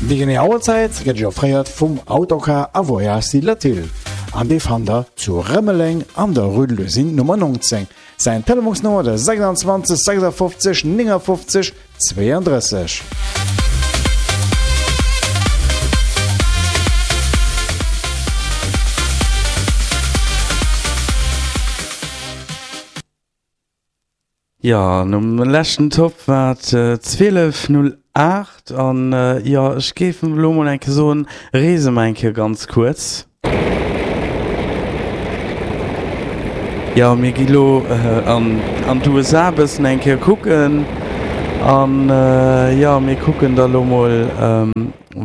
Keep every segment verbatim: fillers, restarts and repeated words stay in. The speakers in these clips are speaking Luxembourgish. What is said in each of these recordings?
Déi genee Auerzäit gëtt Iech offréiert vum Autocar a Voyages Latil an dee fannt der zu Rëmeleng an der Rue de l'Usine Nummer neunzéng. Säin Telefonsnummer de sechsundzwanzeg sechsundfünfzig neunundfünfzig zweiunddrësseg. Jo, nom leschten Top war et zwielef null aacht an jo, ech géif elo mol eng Kéier soen, reese mer eng Kéier ganz kuerz. Jo, mir gi lo an an d'U S A e bëssen eng Kéier kucken an jo, mir kucken da lo mol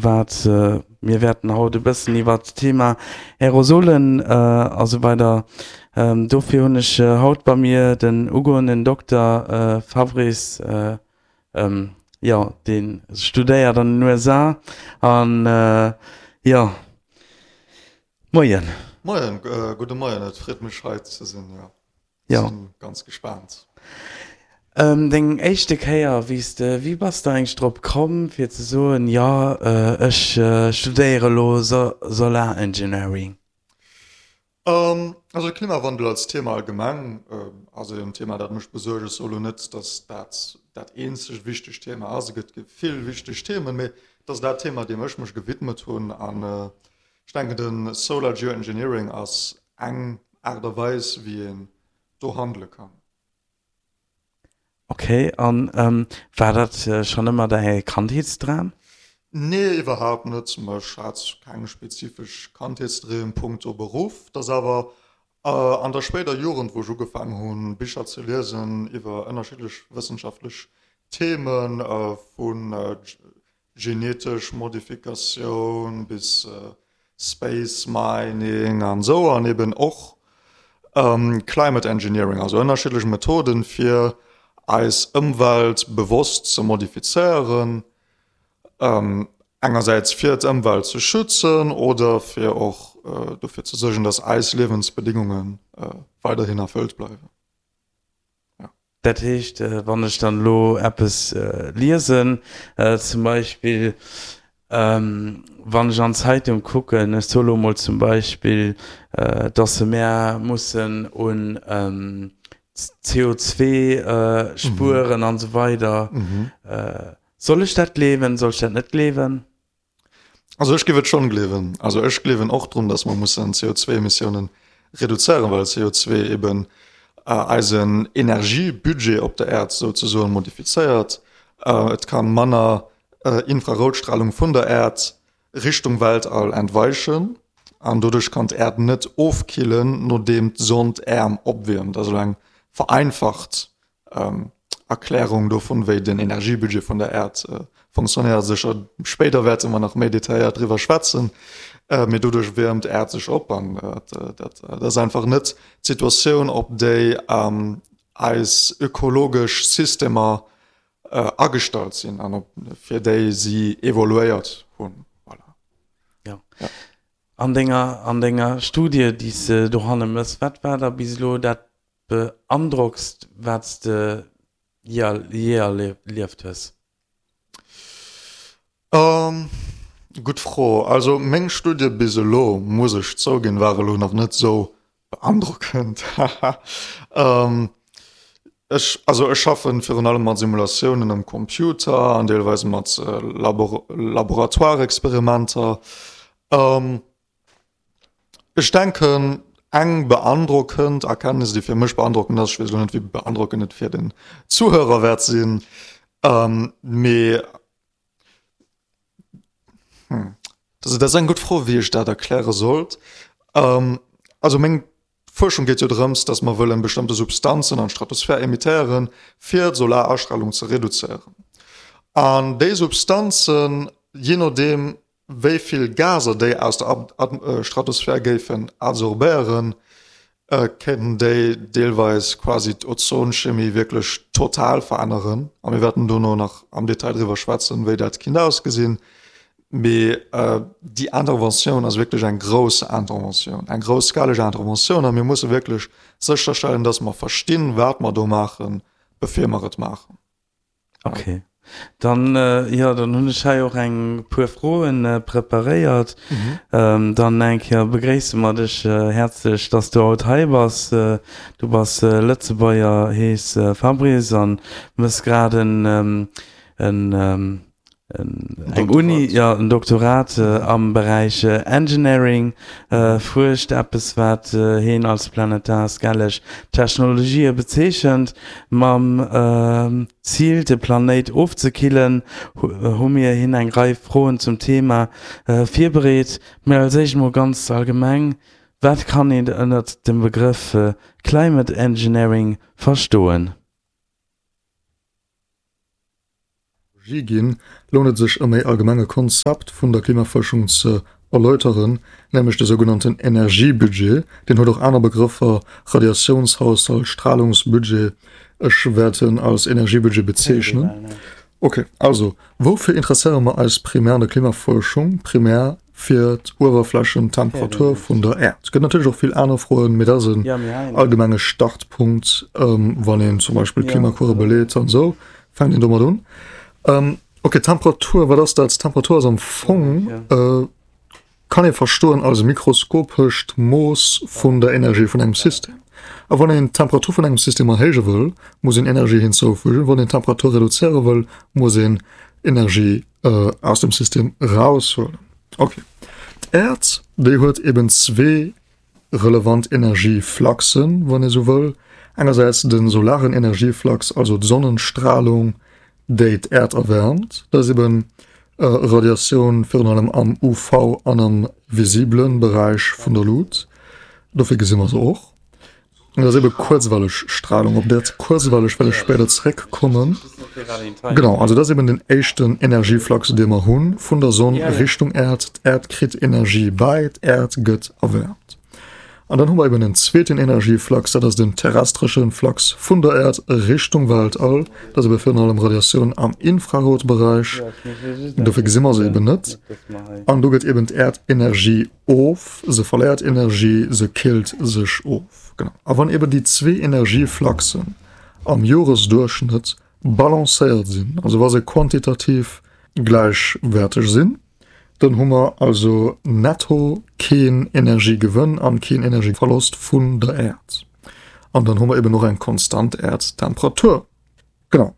wat mir wäerten haut e bëssen iwwert d'Thema Aerosolen a sou weider. Dofir hunn ech haut bei mir den ugoenden Dokter Fabrice, jo, dee studéiert an den U S A an jo, Moien. Moien, gudde Moien, et freet mech hei ze sinn, jo, sinn ganz gespaant. Deng éischte Kéier, wéi s de, wéi bass de eigentlech drop komm fir ze soen, jo, ech studéiere elo Solar Engineering? Also de Klimawandel als Thema allgemeng ass en Thema, dat mech besuergt. Ech soe lo net, datt dat dat eenzegt wichtegt Thema ass. Et gëtt vill wichteg Themen, mee et ass dat Thema, deem ech mech gewidmet hunn. An ech denken, de Solar Geoengineering ass eng Aart a Weis, wéi een do handele kann. Ok, an war dat schonn ëmmer däi Kandheetsdram? Nee, iwwerhaapt net. Ech hat keng spezifesch Kandheetsdreem punkto Beruff. Et ass awer an der spéider Jugend, wou ech ugefaangen hunn, Bicher ze liesen iwwer ënnerschiddlech wëssenschaftlech Themen, vu genetesch Modifikatioun bis Space Mining an esou, an eben och Climate Engineering, also ënnerschiddlech Methoden, fir eis Ëmwelt bewosst ze modifizéieren, engersäits fir d'Ëmwelt ze schützen oder fir och dofir ze suergen, dass eis Liewensbedingunge weiderhin erfëllt bleiwen. Dat heescht, wann ech dann elo eppes liesen, zum Beispill wann ech an d'Zeitung kucken, ech soe lo mol zum Beispill, dass se mär mussen un C O zwei spueren an esou weider, soll ech dat gleewen, soll ech dat net gleewen? Also ech géif et schonn gleewen. Also ech gleewen och drun, dass mer mussen C O zwei Emissiounen reduzéieren, well C O zwei eben eisen Energiebudget op der Äerd souzesoen modifizéiert. Et kann manner Infraroutstrahlung vun der Äerd Richtung Weltall entweichen an doduerch kann d'Äerd net ofkillen, nodeem d'Sonn d'Äerm opwiermt. Also eng vereinfacht Erklärung dovun, wéi den Energiebudget vun der Äerd funktionéiert. Sécher spéider wäerte mer nach méi detailléiert driwwer schwätzen, mee doduerch wiermt d'Äerd sech op an dat ass einfach net d'Situatioun, op déi eis ökologesch Systemer agestallt sinn an op fir déi si evoluéiert hunn. Voilà. Ja. Ja. An denger, an denger Studie, déi s de dohanne mëss, wat war da bis elo dat beandrockst, wat s de jee erlieft hues? Um, gutt Fro. Also meng Studie bis elo, muss ech zouginn, war elo nach net sou beandrockend. um, ech, also ech schaffen virun allem mat Simulatiounen am Computer an deelweis mat Labor Laboratoireexperimenter. Um, ech denken, eng beandrockend Erkenntnis, déi fir mech beandrockend ass, ech weess elo net, wéi beandrockend et fir den Zuhörer wäert sinn, ähm, mee hm, dat ass eng gutt Fro, wéi ech dat erkläre sollt. Ähm, also meng Fuerschung geet jo drëms, datt mer wëllen bestëmmte Substanzen an d'Stratosphär emittéieren, fir d'Solarastreelung ze reduzéieren. An déi Substanzen, jee nodeem wéi vill Gaser déi aus der Stratosphär géifen adsorbéieren, kéinten déi deelweis quasi d'Ozonchemie wierklech total veränneren. A mir wäerten dono nach am Detail driwwer schwätzen, wéi dat kinnt ausgesinn. Mee déi Interventioun ass wierklech eng grouss Interventioun, eng grousskaleg Interventioun a mir musse wierklech sécherstellen, datt mer verstinn, wat mer do maachen, bevir mer et maachen. Okay. Dann, jo, dann hunn ech hei och eng puer Froen preparéiert. Dann eng Kéier begréisse mer dech häerzlech, dass du haut hei bass. Du bass Lëtzebuerger, hees Fabrice an mëss grad en eng Uni, jo, en Doktorat am Beräich Engineering, fuerscht, eppes wat heen als planetar scaleg Technologië bezeechent. Mam Zil de Planéit ofzekillen, hu mir hinn eng Rei Froen zum Thema virbereet. Mä als éischt mol ganz allgemeng, Wat kann een ënnert dem Begrëff Climate Engineering verstoen? Energie ginn, lount et sech e méi allgemenge Konzept vun der Klimafuerschung ze erläuteren, nämlech de sougenannten Energiebudget. Deen huet och aner Begrëffer, Radiatiounshaushalt, Stralungsbudget. Ech wäert en als Energiebudget bezeechnen. Ok, also woufir interesséiere mer eis primär an der Klimafuerschung? Primär fir d'Uewerflächentemperatur vun der Äerd. Et gëtt natierlech och vill aner Froen, mee dat ass en allgemenge Startpunkt, wann een zum Beispill Klimakurve beleet an esou. Fänkt een domat un. Ähm, okay, Temperatur, wat ass dat? Temperatur ass am Fong, äh, kann ee verstoen als mikroskopescht Mooss vun der Energie vun engem System. A wann een d'Temperatur vun engem System erhéije wëll, muss een Energie hinzoufügen. Wann een d'Temperatur reduzéiere wëll, muss een Energie äh, aus dem System raushuelen. Okay. D'Äerd, déi huet eben zwee relevant Energiefluxen, wann ee sou wëll. Engersäits de solaren Energieflux, also d'Sonnenstralung, déi d'Äerd erwäermt. Dat ass eben Radiatioun virun allem am U V an am visibele Beräich vun der Lut. Dofir gesi mer se och. An dat ass ebe kuerzwelleg Stralung. Op dat kuerzwelleg well ech spéider zeréckkommen. Genau, also dat ass eben den éischten Energieflux, dee mer hunn vun der Sonn Richtung Äerd. D'Äerd kritt Energie bäi, d'Äerd gëtt erwäermt. An dann hu mer eben en zweeten Energieflux, dat ass den terrestresche Flux vun der Äerd Richtung Weltall. Dat ass ebe virun allem Radiatioun am Infrarotberäich, dofir gesi mer se eben net. An do gëtt eben d'Äerd Energie of, se verléiert Energie, se killt sech of. Genau. A wann eben déi zwee Energiefluxen am Joresduerchschnëtt balancéiert sinn, also wa se quantitativ gläichwäerteg sinn, Dann hu mer also netto keen Energiegewënn an keen Energieverlost vun der Äerd. An dann hu mer eben och eng konstant Äerdtemperatur. Genau.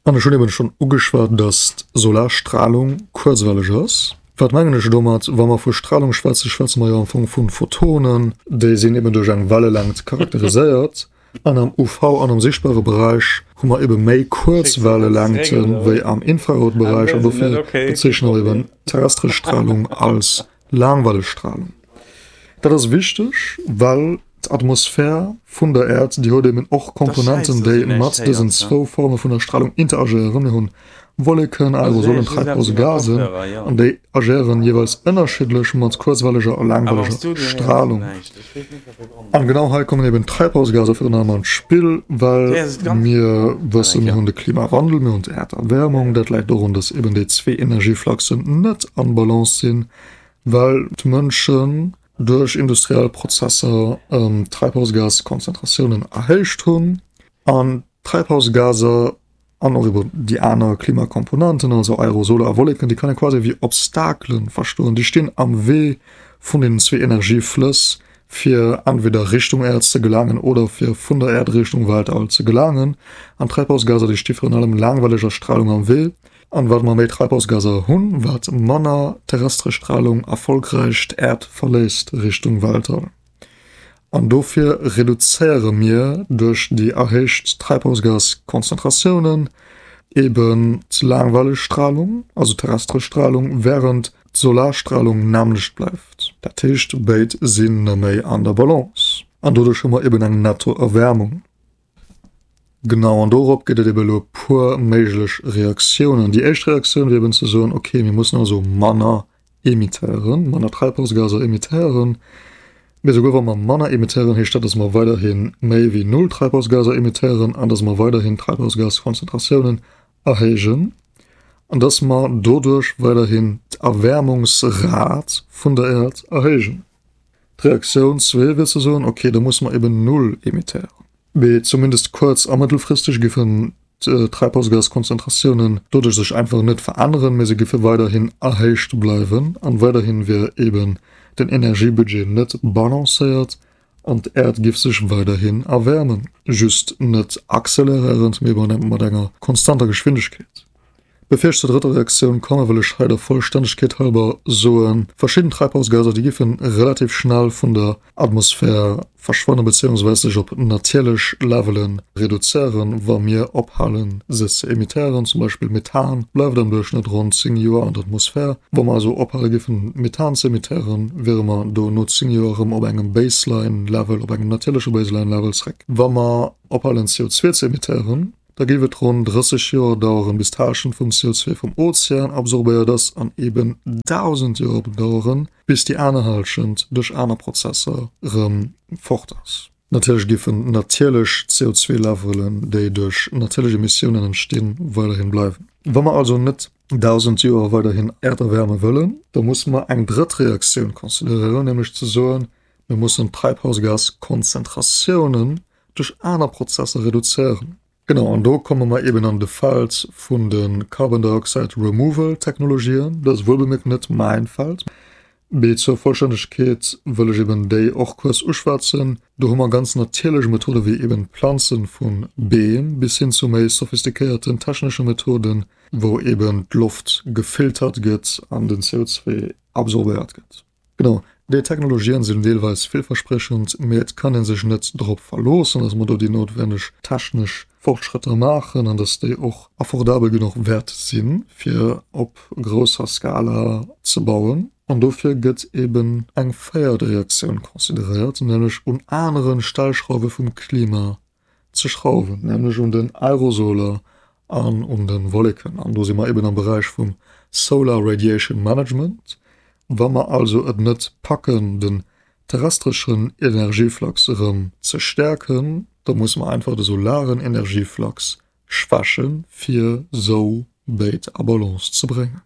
An ech hunn eben schonn ugeschwat, dass d'Solarstralung kuerzwelleg ass. Wat mengen ech domat? Wa mer vu Stralung schwätzen, schwätze mer jo am Fong vu Photonen. Déi sinn eben duerch eng Wellelängt charakteriséiert. An am U V an am sichtbare Beräich hu mer ebe méi kuerz Wellelängte wéi am Infraroutberäich an dofir bezeechne mer eben terrestresch Stralung als Laangwellestralung. Dat ass wichteg, well d'Atmosphär vun der Äerd, déi huet eben och Komponenten, déi mat dësen zwou Forme vun der Stralung interagéieren. Mir hunn Wolleken, Aerosolen, Treibhausgasen an déi agéieren jeeweils ënnerschiddlech mat kuerzwelleger a laangwelleger Stralung. An genau hei kommen eben d'Treibhausgaser virun allem an d'Spill, well mir wëssen, mir hunn de Klimawandel, mir hunn d'Äerderwärmung. Dat läit dorun, dass eben déi zwee Energiefluxen net an Balance sinn, well d'Mënschen duerch industriell Prozesser d'Treibhausgaskonzentratiounen erhéicht hunn an d'Treibhausgaser An och iwwer déi aner Klimakomponenten, also Aerosole a Wolleken, déi kann ee quasi wéi Obstakele verstoen. Déi stinn am Wee vun deenen zwee Energieflëss, fir entweder Richtung Äerd ze gelaangen oder fir vun der Äerd Richtung Weltall ze gelaangen. An d'Treibhausgaser, déi sti virun allem laangwelleger Stralung am Wee. An wat mer méi Treibhausgaser hunn, wat manner terrestresch Stralung erfolgräich d'Äerd verléisst Richtung Weltall. An dofir reduzéiere mir duerch déi erhéicht Treibhausgaskonzentratiounen eben d'laangwelleg Stralung, also terrestresch Stralung, wärend d'Solarstralung nämmlecht bleift. Dat heescht, béid sinn neméi an der Balance an doduerch hu mer eben eng Nettoerwärmung. Genau, an dorop gëtt et eben elo e puer méiglech Reaktiounen. Déi éischt Reaktioun wier eben ze soen, okay, mir mussen also manner emittéieren, manner Treibhausgaser emittéieren. Mee esouguer wa mer manner emittéieren, heescht dat, datt mer weiderhi méi wéi null Treibhausgaser emittéieren an datt mer weiderhin d'Treibhausgaskonzentratiounen erhéijen an datt mer doduerch weiderhin d'Erwäermungsrat vun der Äerd erhéijen. D'Reaktioun zwee wier ze soen, okay, da musse mer eben null emittéieren. Mee zumindest kuerz a mëttelfristeg géifen d'Treibhausgaskonzentratiounen doduerch sech einfach net veränneren, mee se géife weiderhin erhéicht bleiwen an weiderhin wier eben den Energiebudget net balancéiert an d'Äerd géif sech weiderhin erwäermen, just net acceleréierend, mee mat enger konstanter Geschwindegkeet. Bevir ech zur drëtter Reaktioun kommen, wëll ech hei der Vollstännegkeet halber soen, Verschidden Treibhausgaser, déi géife relativ schnell vun der Atmosphär verschwannen, beziehungsweise sech op natierlech Levele reduzéieren, wa mir ophalen, se ze emittéieren. Zum Beispill Methan bleift am Duerchschnëtt ronn zéng Joer an der Atmosphär. Wa mer also ophale géifen, Methan ze emittéieren, wiere mer do no zéng Joer erëm op engem Baseline-Level, op engem natierleche Baseline-Level zréck. Wa mer ophalen, C O zwei ze emittéieren, da géif et ronn drësseg Joer daueren, bis d'Hallschent vum C O zwei vum Ozean absorbéiert ass an eben dausend Joer daueren, bis déi aner Hallschent duerch aner Prozesser erëm fort ass. Natierlech géifen natierlech C O zwei Levelen, déi duerch natierlech Emissiounen entstinn, weiderhin bleiwen. Wa mer also net dausend Joer weiderhin Äerderwärme wëllen, da musse mer eng drëtt Reaktioun consideréieren, nämlech ze soen, mir mussen d'Treibhausgaskonzentratiounen duerch aner Prozesser reduzéieren. Genau, an do komme mer eben an de Feld vun de Carbon Dioxide Removal Technologien. Dat ass wuelbemierkt net mäin Feld. Mee zur Vollstännegkeet wëll ech eben déi och kuerz uschwätzen. Do hu mer ganz natierlech Methode wéi eben Planzen vun Beem bis hin zu méi sophistiquéierten technesche Methoden, wou eben d'Loft gefiltert gëtt an den C O zwei absorbéiert gëtt. Genau, déi Technologien sinn deelweis villversprechend, mee et kann een sech net drop verloossen, dass mer do déi noutwenneg technesch Fortschrëtter maachen an dass déi och affordabel genuch wäert sinn, fir op grousser Skala ze bauen. An dofir gëtt eben eng véiert Reaktioun consideréiert, nämlech un aneren Stellschrauwe vum Klima ze schrauwen, nämlech un den Aerosoler an un den Wolleken. An do si mer eben am Beräich vum Solar Radiation Management. Wa mer also et net packen, den terrestreschen Energieflux erëm ze stärken, da muss man einfach de solaren Energieflux schwächen, fir sou béid a Balance ze bréngen.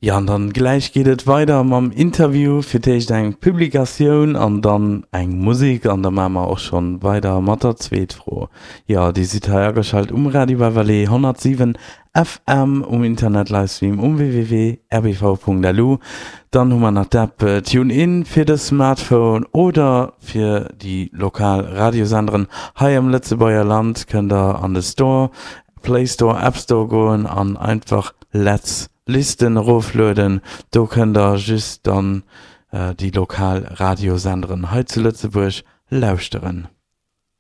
Ja, an dann gleich geht et weider mam Interview, fir d'éischt eng Publikatioun an dann eng Musik an da maache mer och schon weider mat der zweet Fro. Ja, Dir sidd hei ageschalt um Radio Beverley honnertsiwen F M um Internet-Livestream um w w w punkt r b v punkt l u. Dann hu mer nach d'App TuneIn fir de Smartphone oder fir déi lokal Radiosenderen hei am Lëtzebuerger Land kënnt der an de Store, Play Store, App Store goen an einfach Let's Listen eroflueden. Do kënnt der just dann, äh, déi lokal Radiosenderen hei zu Lëtzebuerg lauschteren.